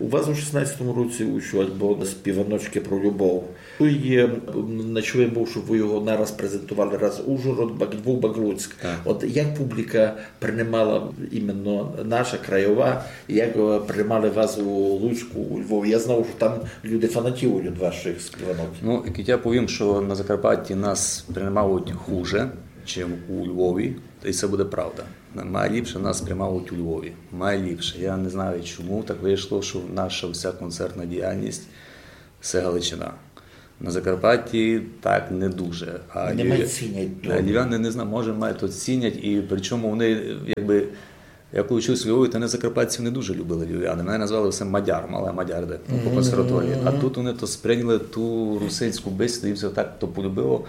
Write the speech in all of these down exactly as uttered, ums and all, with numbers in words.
У вас у шістнадцятому році вышов альбом «Співаночкы про любов». Туй є, м, не чув єм быв, што вы його нараз презентовали, раз Ужгород, Бак-, Львов, Бак-, Луцьк. Так. От як публіка принимала іменно наша, краєва, як, е, принимали вас у Луцьку, у Львові? Я знав, што там люди фанатіють од вашых співанок. Ну, як я повім, що на Закарпатті нас приймають хуже, чим у Львові, і це буде правда. Майліпше нас приймають у Львові. Майліпше. Я не знаю, чому так вийшло, що наша вся концертна діяльність — це Галичина. На Закарпатті так не дуже. А Не май львів- цінять а львів'яни, не знаю, може, май то цінять, і причому вони, якби, я коли вчився у Львові, то не закарпатців не дуже любили львів'яни. Мене назвали все мадяр, мала мадяр де, по консерваторії. А тут вони то сприйняли ту русинську бесіду, їм це так то полюбило.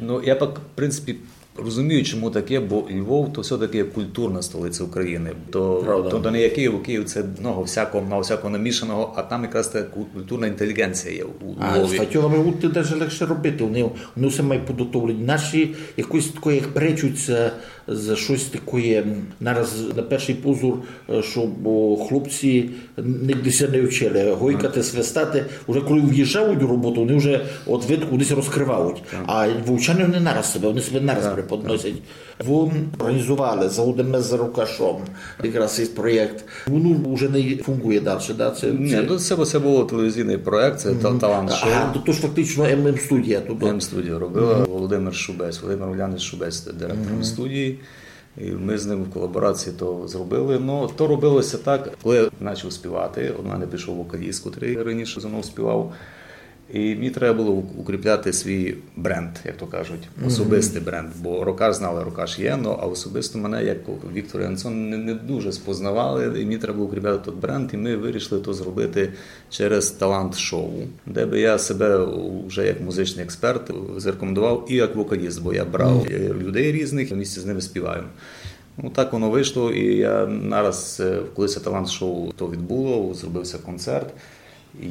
Ну, я пак, в принципі, розумію, чому таке, бо Львов то все-таки культурна столиця України. То, Правда. То, то не є Київ, у Київ це много всякого, много всякого намішаного, а там якраз така ку- культурна інтелігенція є у А з Львові. фатьорами гурты даже легше робити. Вони, вони все мають підготовлені. Наші якось такої, як пречуть за, за щось такоє, м, нараз на перший позор, е, щоб, о, хлопці нігде ся не вчили. Гойкати, свистати. Уже коли в'їжджають у роботу, вони вже от видку вони ся розкривають. А вовчани вони нараз себе, вони себе нараз преподносять. Вы організовали «Заводиме з Рокашом» якраз цей проєкт. Воно вже не фунґує дальше, да? Це, Ні, це... ну це, це був телевізійний проєкт, це та- талант шоу. А, то, то ж фактично М М студія. Тут. М Студіо робила Володимир Шубець, Володимир Улянич Шубець, директор М студії. І ми з ним в колаборації то зробили. Ну, то робилося так, коли я почав співати, у мене пішов вокаліст, який раніше зо мною співав. І мені треба було укріпляти свій бренд, як то кажуть, особистий бренд. Бо Рокаш знали, Рокаш є, ну, а особисто мене, як Віктор Янсон, не, не дуже спознавали, і мені треба було укріпляти той бренд, і ми вирішили то зробити через талант-шоу, де би я себе вже як музичний експерт зарекомендував і як вокаліст, бо я брав е, людей різних, в місті з ними співаю. Ну, так воно вийшло, і я нараз, е, коли це талант-шоу то відбуло, зробився концерт.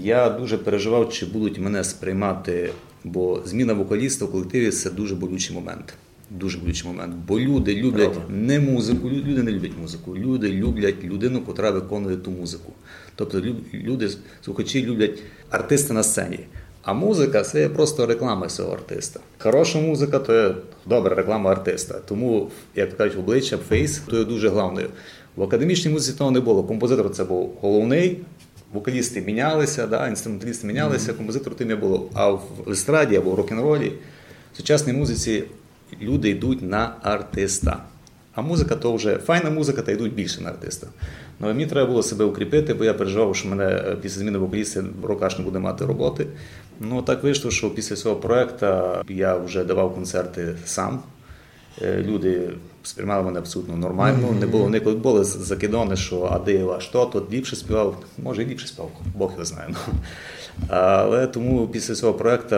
Я дуже переживав, чи будуть мене сприймати, бо зміна вокаліста в колективі — це дуже болючий момент. Дуже болючий момент. Бо люди люблять не музику, лю- люди не люблять музику. Люди люблять людину, котра виконує ту музику. Тобто лю- люди, слухачі люблять артиста на сцені. А музика — це є просто реклама цього артиста. Хороша музика — то є добра реклама артиста. Тому, як кажуть, обличчя, фейс — то є дуже головною. В академічній музиці того не було. Композитор — це був головний, вокалісти мінялися, да, інструменталісти мінялися, композитор тим не було. А в естраді або в рок-н-ролі, в сучасній музиці люди йдуть на артиста. А музика — то вже файна музика, та йдуть більше на артиста. Ну, і мені треба було себе укріпити, бо я переживав, що мене е, після зміни вокаліста Рокаш не буде мати роботи. Ну, так вийшло, що після цього проєкту я вже давав концерти сам. Е, Люди сприймали мене абсолютно нормально. Не було николи, були з- закидони, що а де ваш тот, тот ліпше співав. Може, і ліпше співав, Бог його знає. Ну. Але тому після цього проєкту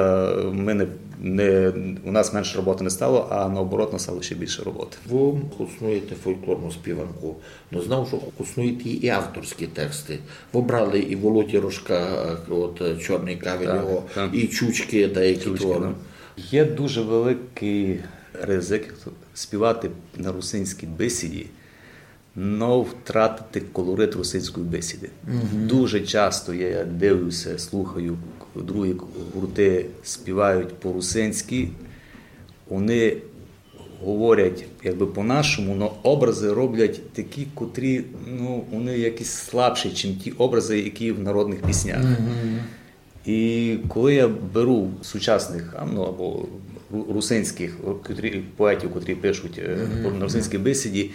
ми не, не, у нас менше роботи не стало, а наоборот, нас стало ще більше роботи. Вы хоснуєте фольклорну співанку, но знав, што хоснуєте і авторські тексты. Вы брали і Володі Рожка, е, от е, «Чорный кавель» Так, його, так. і «Чучкы», деякі Чучкы, творы. Ну. Є дуже великий ризик співати на русинській бесіді, но втратити колорит русинської бесіди. Дуже часто я дивлюся, слухаю, другі гурти співають по-русинськи, вони говорять якби по-нашому, но образи роблять такі, котрі, ну, вони якісь слабші, ніж ті образи, які в народних піснях. І коли я беру сучасних, а, ну, або ру- русинських, котрі, поетів, котрі пишуть е, на русинській бесіді,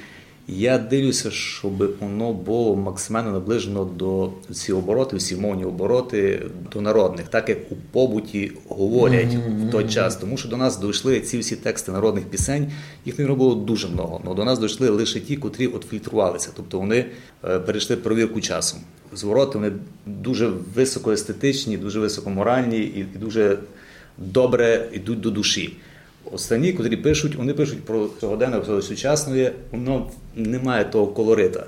я дивлюся, щоб воно було максимально наближено до ці обороти, всі мовні обороти, до народних, так як у побуті говорять в той час. Тому що до нас дійшли ці всі тексти народних пісень, їх не було дуже много, але до нас дійшли лише ті, котрі от фільтрувалися, тобто вони е, перейшли перевірку часом. Звороти вони дуже високоестетичні, дуже високоморальні і, і дуже добре йдуть до душі. Останні, котрі пишуть, вони пишуть про сьогоденне, про сучасне, воно не має того колорита.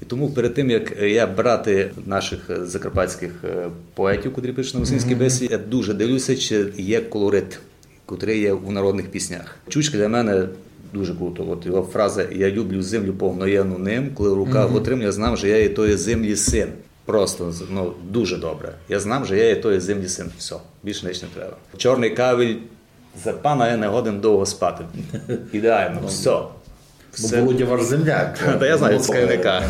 І тому перед тим, як я брати наших е, закарпатських е, поетів, котрі пишуть на русинській бесіді, я дуже дивлюся, чи є колорит, котрий є у народних піснях. Чучка для мене дуже круто. От його фраза: «Я люблю землю, повноєну ним, коли в руках отримую, я знав, що я і тої землі син». Просто, ну, дуже добре. Я знам, же я є тої землї син. Всьо. Більше нич не треба. Чорный кавіль, за пана я не годен довго спати. Ідеално, всьо. Бо Володя ваш земляк. Та я знаю, Ну, з Кам'яника.